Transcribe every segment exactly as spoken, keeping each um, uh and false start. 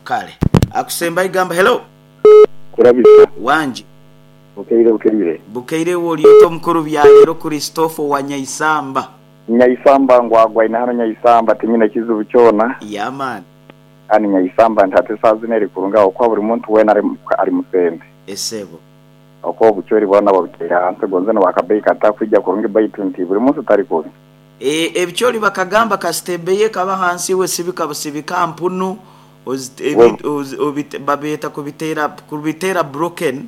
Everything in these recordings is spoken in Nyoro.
Kale akusemba igamba hello. Kurabisa. Wanji. Bukeire, bukeire. Bukeire. Woliota omukuru byalero Christopher wa Nyaisamba. Nyaisamba ngwagwa ina hano Nyaisamba, tinyina kizibu kyona. Yeah man. Ani Nyaisamba ntate saa zine kurunga okwa buri muntu wena ari ari musende. Esebo. Okwo obuchweri bwana babutera hansi gonze no bakabei kata kwijja kurungi, baitu nti buri munsi tari kubi. E, ebikyoli bakagamba kasitebeye kaba hansi we sibika busibika mpunu ozi- ebi- ozi- obite- babeta kubitera kubitera broken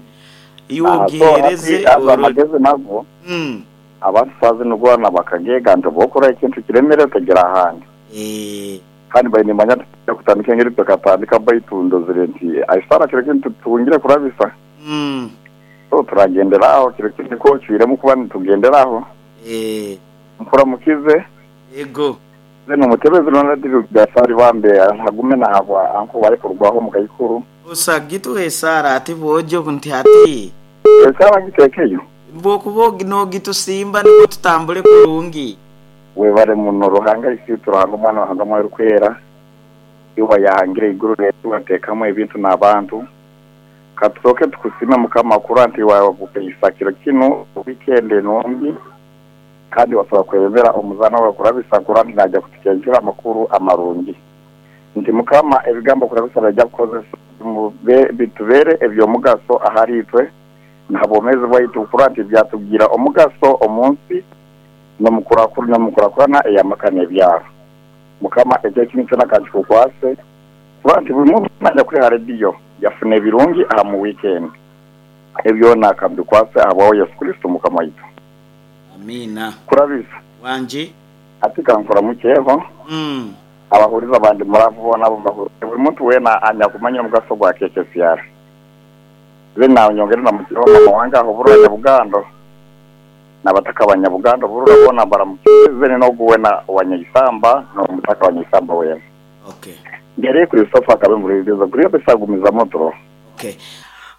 iwe Ah, so ogihereze. hati azo oro- amagezi nago Mm. abantu saa zino gwana bakagega nti bokora ekintu kiremere tegera ahandi. Eh, kandi bainimanya tujja kutandika engeri tukatandika, baitu ndozire nti aisara kiro kintu tungire kurabisa. mm. So turagenderaho kiro kintu ko cwiremu kuba nitugenderaho. Eh, Nkuramukize. Ego. Zeno umutebezi nonadiri gasari bambe ntagume nahabwa anko bari kurwaho mu kayikuru. Osagitu esara ati bojo nti ati Esara ngitekeyo. Bwokuba nogitusimba niko tutambule kurungi. Webare muno Ruhanga isi, Ruhanga Omwana, Ruhanga Mwoyo Kwera, iwa yahangire iguru letu watekamo ebintu n'abantu. Katusoke tukusime Mukama kura nti wabukeisa kiro kino weekend nungi, kandi wasaba kwebembera omuzana wawe kurabisa kura nti najja kutukenkera amakuru amarungi, nti Mukama ebigambo kurabisa bijja kukozesa mube- bitubere ebyomugaso ahari itwe ntabwomezi bwaitu, kura nti byatugira omugaso omunsi nomukurakuru nomukurakurana eyamaka n'ebyaro. Mukama ekyo kintu kyona kankikukwase kuba nti buri muntu najya kuri radiyo yafuna ebirungi aha mu weekend, ebyona akabikwase ahabwaho Yesu Kristo Mukama waitu. Amina. Kurabisa. Wanji. Ati kankora mukeho. mm. Abahuriza abandi muravu bona abo mbahuriza, buri muntu wena anya kumanya omugaso gwa K K C R. Ze nawe nyongere na mukiho mama wange aho burura Nyabugando n'abataka abanyabugando burura bona baramukize n'ogu wena wa Nyaisamba n'omutaka wa Nyaisamba wena. Okay. Ngere Christopher akabe muliriza kuri besagumiza motoro. okay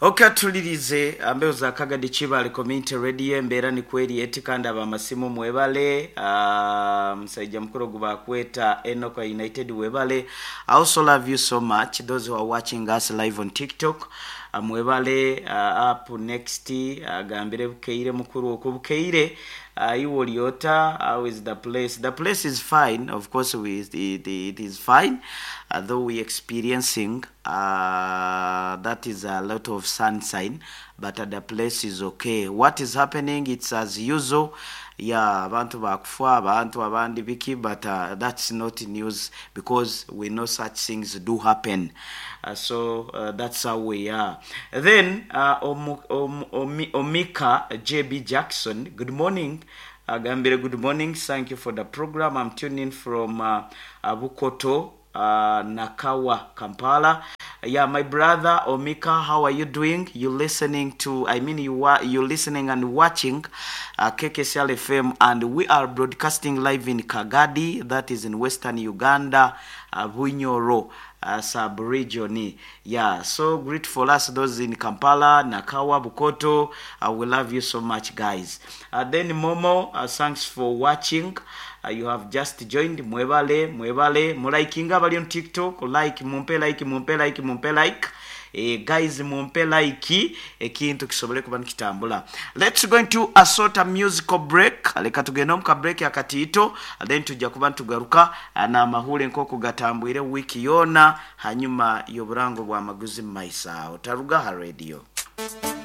okay tulirize ambeo za Kagadi Chibale Community Radio. Embeera ni kweri eti, kandi abamasimu mwebale. uh, musajja mukulu gubakweta Enoka United, webale. I also love you so much, those who are watching us live on TikTok. uh, mwebale. uh, up next, agambire uh, bukeire mukuru okwo bukeire. uh, iwe oliota, how is the place? The place is fine, of course. We, it, it is fine, uh, though we experiencing uh, that is a lot of sunshine, but uh, the place is okay. What is happening, it's as usual. Yeah, abantu bakufa, abantu abandi biki, but uh, that's not news because we know such things do happen. uh, so uh, that's how we are. Then uh, Omu, Om, Omi, Omika J B Jackson, good morning. Agambire good morning, thank you for the program. I'm tuning from uh, uh, Bukoto, uh, Nakawa, Kampala. Yeah, my brother Omika, how are you doing? You listening to, I mean, you are you listening and watching uh, K K C L F M, and we are broadcasting live in Kagadi, that is in Western Uganda, uh, Bunyoro uh, sub-region. Yeah, so great for us, those in Kampala, Nakawa, Bukoto. Uh, we love you so much, guys. Uh, then Momo, uh, thanks for watching. Uh, you have just joined. Mwebale, mwebale. Mulikinga bali on TikTok. Like, mumpe like, mumpe like, mumpe like. Eh, guys, mumpe like ekintu kisobole kuba nikitambula. Let's go into a sort of musical break. Leka tugende omu ka break akatiito, then tujja kuba nitugaruka n'amahule nk'oku gatambwire wiiki yoona hanyuma y'oburango bw'amaguzi mu maiso awo. Taruga ha radio.